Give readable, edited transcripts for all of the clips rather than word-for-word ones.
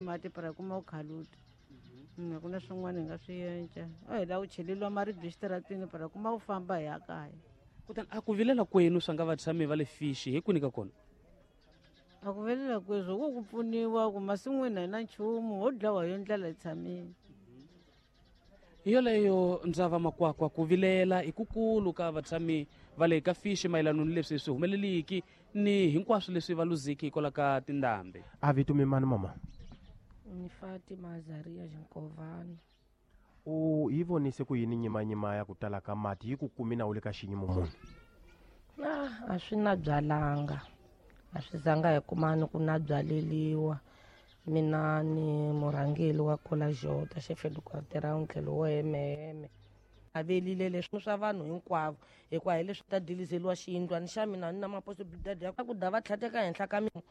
Mati para kuma u khaluta. A ku na swin'wana hi nga swi endla. A hi lava ku cheleriwa maribye exitarateni para kuma u famba hi ya kaya. Kutani a ku vilela kwenu swa nga vatshami va le Fishi hi kwini ka kona? A ku vilela kweswo ku ku pfuniwa ku masin'wini a hi na nchumu ho dlawa hi yo ndlala hi tshamile. Hi yoleyo ndzava makwakwa ku vilela i kukulu ka vatshami va le ka Fishi mayelano ni leswi swi humeleliki ni hinkwaswo leswi va luziki hikwalaho ka tindhambi. A vito mi mani mama? Ni Fatima Azaria Xinkovana. U yi vonise ku yini nyimanyima ya ku tala ka mati yi ku kumi na u le ka xiyimo muni? Ah, a swi na byalanga. A swi zanga hi kumani ku na byaleliwa. Mina ni murhangeli wa Kola Jota, chef de quartier ra tlhelo wo hemeheme. Avelile leswi swa vanhu hinkwavo hikuva hi leswi ta dilizeliwa xiyindlwani xa mina ni na maposobidadi ya ku da va tlhateka henhla ka mina.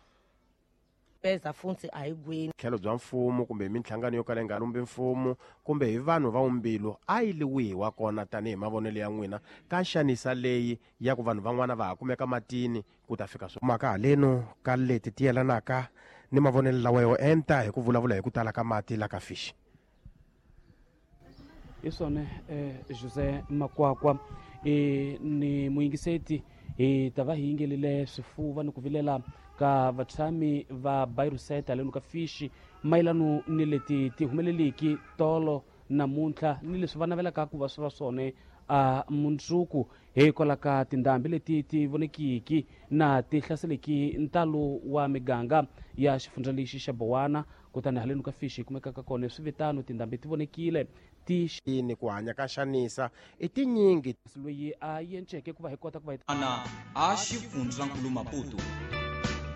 Peza funtsi a hi gweni. Tlhelo bya mfumo kumbe hi minhlangano yo kala yi nga lumbi mfumo kumbe hi vanhu va umbilu a yi li wihi wa kona tanihi mavonelo ya n'wina ka nxanisa leyi ya ku vanhu van'wana va ha kumeka matini ku ta fika mhaka haleno ka leti ti yelanaka ni mavonelo lawa yo enta hi ku vulavula hi ku tala ka mati la ka Fishi. Hi swona Jose Makwakwa ni muyingiseti hi ta va hi yingelile swifuva ni ku vilela ka vatshami va Bayruseta haleno ka Fishi mayelano ni leti ti humeleliki tolo namuntlha ni leswi va navelaka ku va swi va swona a mundzuku hikwalaho ka tindhambi leti ti vonekiki na ti hlaseleki ntalo wa miganga ya xifundza lexi xa Bowana. Kutani haleno ka Fishi hi kumekaka kona swi vitano tindhambi ti vonekile ti ni ku hanya ka xanisa i tinyingi loyi a yenceke ku va hi kota ku va hi ana a xifundzankulu Maputo.